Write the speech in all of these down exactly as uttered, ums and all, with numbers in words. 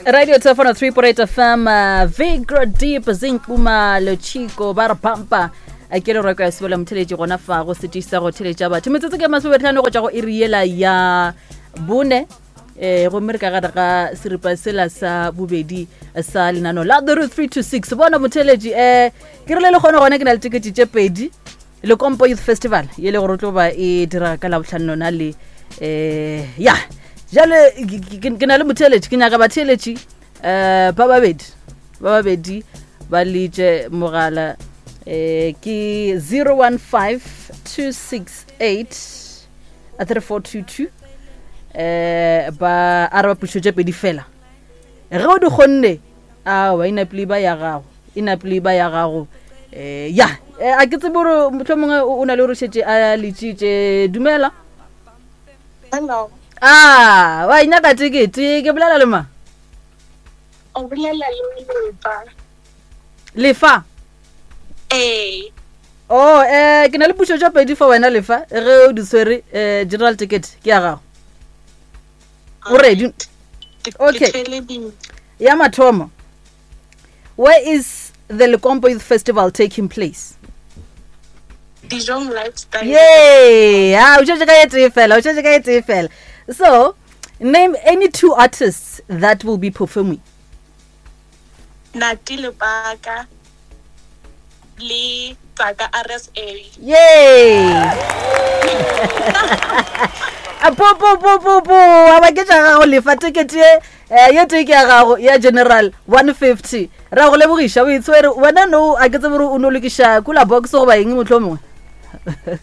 Radio Telefono three point eight F M, uh, Vigra Deep Zinkuma Chico ba re pampa a ke le reko ya sebola motheletši gona fa go setiša go theletša batho. Metsotso ke masometlhano go tšwa go iri yela ya bone, eh gomme re ka gare ga seripa sela sa bobedi sa lenano la The Root three to six. Bona motheletši, eh ke rile le kgone gona ke na le tekete tše pedi Lekompo Youth Festival ye le gore o tlo ba e dira ka Labotlhano lona le eh ya jale ke- ke ke na le motheletši, ke nyaka batheletši um ba babedi ba babedi ba letše mogala, eh ke zero one five two six eight three four two two, eh ba araba pušo tše pedi fela. Ge o di kgonne, awa, e napile ba ya gago, e napile ba ya gago. eh ya eh, a ke tsebe gore motlho mongwe o o na le gore šetse a letšitše. Dumela. Hello. A wa inyaka tekete? Ke bolela le ma? O bolela le Lefa. Lefa? Ee. Oh, eh ke na le pušo tša pedi for wena Lefa. Ge o di tshwere, eh general ticket ke ya gago. O ready? Ke- Okay. Ke theleditše. Ya mathomo, where is the Lekompo Youth Festival taking place? Dijong Lifestyle. Yay! Ah, o tšwetše ka e tee fela, o tšwetše ka e tee fela. So name any two artists that will be performing. Nati Lepaka le Tsaka R S A. Yay! A po po po po po, a ba ke tša gago Lefa. Tekete ye eh, ye tee ke ya gago ya general one fifty. Ra go lebogiša, o itshwere wena. No, a ke tsebe gore o no lokiša kula box goba eng motlho mongwe.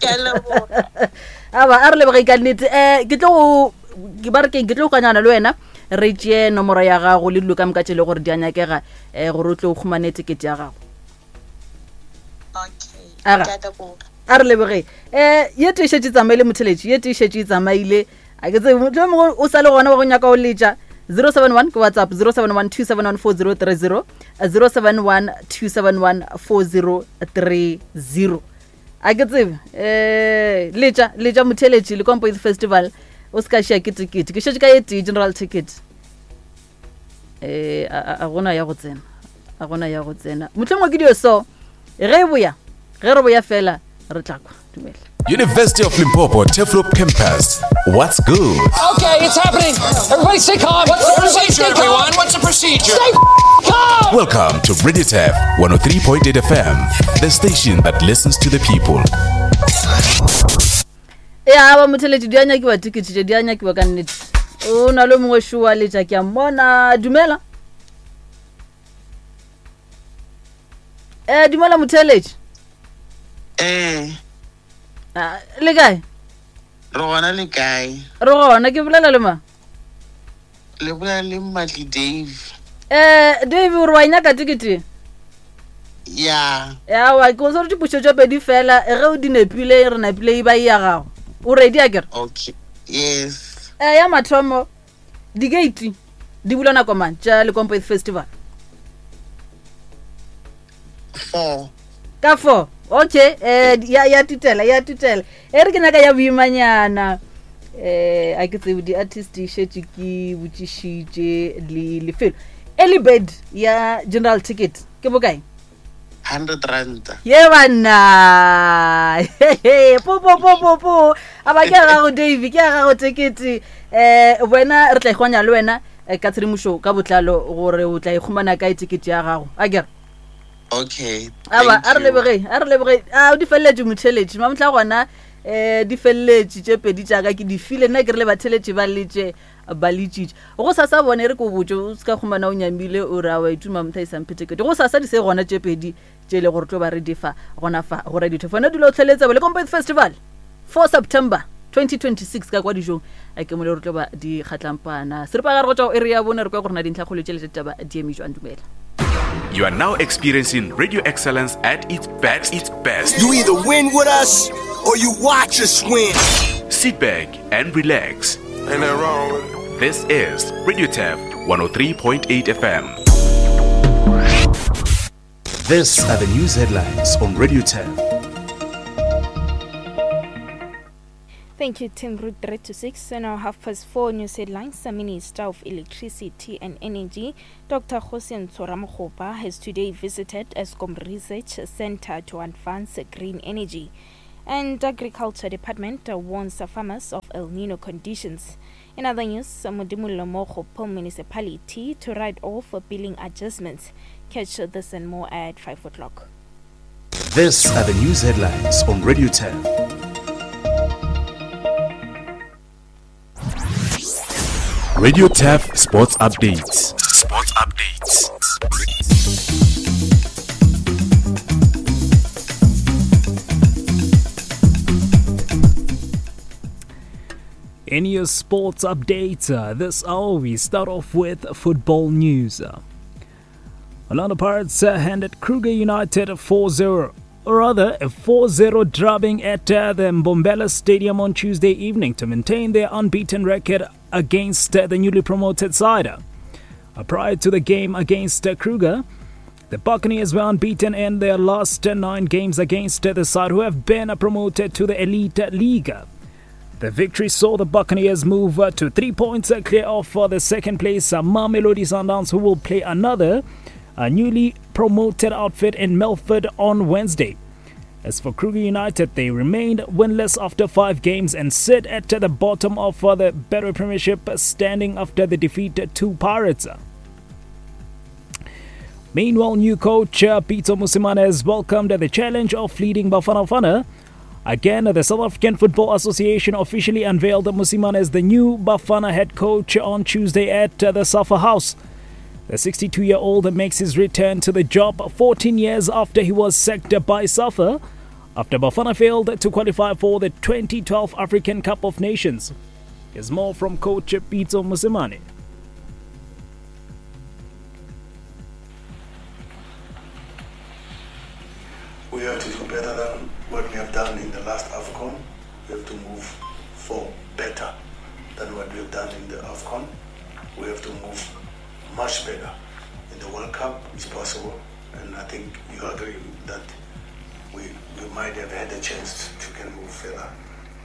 Ke a leboga. Aba a re leboge ka nnete. um ke tlo go ke ba re keng, ke tlo go kanyana le wena, re tšee nomoro ya gago le dilo ka moka tše e le gore di a nyakega um gore o tle o khumane tekete ya gago. Okay. Aga. Ke a leboga. A re leboge. um ye tee šetše tsamaile, motheletši, ye tee šetše e tsamaile. A ke tsebe motlho mongwe o sa le gona wa go nyaka o letša. zero seven one ke WhatsApp, zero seven one two seven one four zero three zero, zero seven one two seven one four zero three zero. A ke tsebe, um letša, letša motheletši. Lekompo Youth Festival, o se ka šia ke tekete. Ke šetše ka ye tee general ticket. eh a a- a gona ya go tsena, a gona ya go tsena. Motlho mongwe ke dio so ge e boya, ge re boya fela re tla kwa. Dumela. University of Limpopo, Turfloop Campus. What's good? Okay, it's happening. Everybody stay calm. What's the Everybody procedure, stay calm. everyone? What's the procedure? Stay calm. Welcome to Radio Tef one oh three point eight F M, the station that listens to the people. E aba motheletši, di a nyakiwa tekete tše, di a nyakiwa ka nnete. O na le mongwe šoa letša, ke a mmona. Dumela, um dumela motheletši. Eh, Ah, le kae? Re gona, le kae? Re gona. Ke bolela le ma? Le bolela le Mmatli Dave. um Dave, o re wa e nyaka tekete? Ya. Awa, ke o tshware dipušo tše pedi fela. Ge o di nepile, re napile e ba e ya gago. O ready akere? Okay. Yes. um ya mathomo, di-gate di bula nako mang tša Lekompo Youth Festival? Four. Ka four, okay. um ya ya tutela, ya tutela. E re ke nyaka ya boimanyana. um a ke tsebe di-artist šetše ke botšišitše le lefelo. Early bird ya general ticket ke bokae? Hundred rand. Ye banna, po po po po po, a ba ke ya gago Dave, ke ya gago tekete. um wena re tla ikgwanya le wena eh, ka tshedimošo ka botlalo gore o tla ikgumana kae tekete ya gago, a kere? Okay. Aba Thank a re you. lebogeng, a re lebogeng. A di feleletše motheletši mamotla gona. um di feleletše tše pedi tšaka ke di file nna. Ke re le batheletši ba letše, ba letšitše go sasa bone. Re ko botse, o se ka kgomana o nyamile o re a wa ituma motho a isang phetekete. Go sasa di se gona tše pedi tše e le gore tlo ba re difa gona fa go Radio Tefo. Dula o tlheletse Lekompo Youth Festival, four September twenty twenty-six ka kwa dijong a ke mole re tlo ba di kgatlampana. Seripagare go tšwa go area ya bone, re kwa gore na dintlhakgolo tšele tša ditaba di eme jwang. Dumela. You are now experiencing radio excellence at its best. Its best. You either win with us or you watch us win. Sit back and relax. Ain't nothing wrong with it. This is Radio Tef one oh three point eight F M. These are the news headlines on Radio Tef. Thank you, Tim. Route three to six and now half past four news headlines. The Minister of Electricity and Energy, Doctor Kgosientsho Ramokgopa, has today visited Eskom Research Center to advance green energy. And Agriculture Department warns farmers of El Nino conditions. In other news, Modimolle Mookgophong Municipality to write off billing adjustments. Catch this and more at five o'clock. These are the news headlines on Radio ten. Radio T A F Sports Updates. Sports Updates. In your sports updates, uh, this hour we start off with football news. Orlando Pirates uh, handed Kruger United a four zero, or rather a four zero drubbing at uh, the Mbombela Stadium on Tuesday evening to maintain their unbeaten record against uh, the newly promoted side. Uh, prior to the game against uh, Kruger, the Buccaneers were unbeaten in their last uh, nine games against uh, the side who have been uh, promoted to the Elite League. The victory saw the Buccaneers move uh, to three points uh, clear off for the second place uh, Mamelodi Sundowns, who will play another a newly promoted outfit in Melford on Wednesday. As for Kruger United, they remained winless after five games and sit at the bottom of the Betway Premiership standing after the defeat to Pirates. Meanwhile, new coach uh, Pitso Mosimane has welcomed the challenge of leading Bafana Bafana. Again, the South African Football Association officially unveiled Mosimane as the new Bafana head coach on Tuesday at the Safa House. The sixty-two-year-old makes his return to the job fourteen years after he was sacked by Safa after Bafana failed to qualify for the twenty twelve African Cup of Nations. Here's more from coach Pitso Mosimane. We have to do better than what we have done in the last AFCON. We have to move for better than what we have done in the AFCON. We have to move much better in the World Cup. It's possible, and I think you agree that we, we might have had a chance to can move further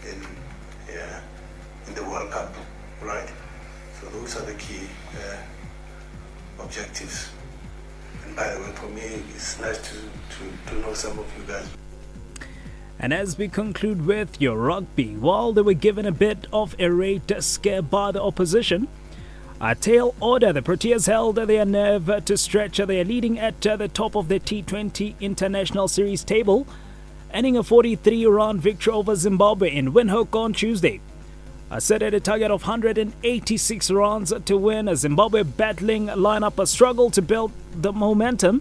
in yeah, in the World Cup, right? So those are the key uh, objectives. And by the way, for me, it's nice to, to, to know some of you guys. And as we conclude with your rugby, while they were given a bit of a rate scare by the opposition, a tail order, the Proteas held their nerve to stretch their leading at the top of the T twenty International Series table, ending a forty-three run victory over Zimbabwe in Windhoek on Tuesday. Set at a target of one hundred eighty-six runs to win, a Zimbabwe battling lineup struggled to build the momentum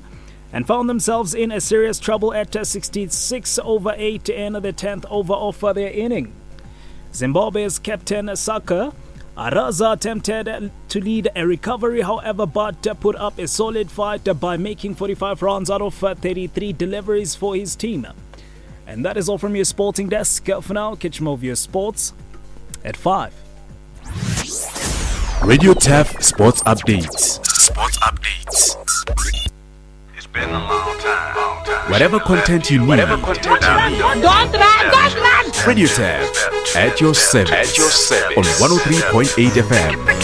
and found themselves in a serious trouble at sixty-six over eight in the tenth over of their inning. Zimbabwe's captain Saka Araza attempted to lead a recovery, however, but put up a solid fight by making forty-five runs out of thirty-three deliveries for his team. And that is all from your sporting desk. For now, catch more of your sports at five. Radio T A F Sports Updates. Sports Updates. It's been a long time. Long time. Whatever content you need. Whatever content you need. Don't run, don't run. Radio T A F at your service. At your service. On one oh three point eight F M.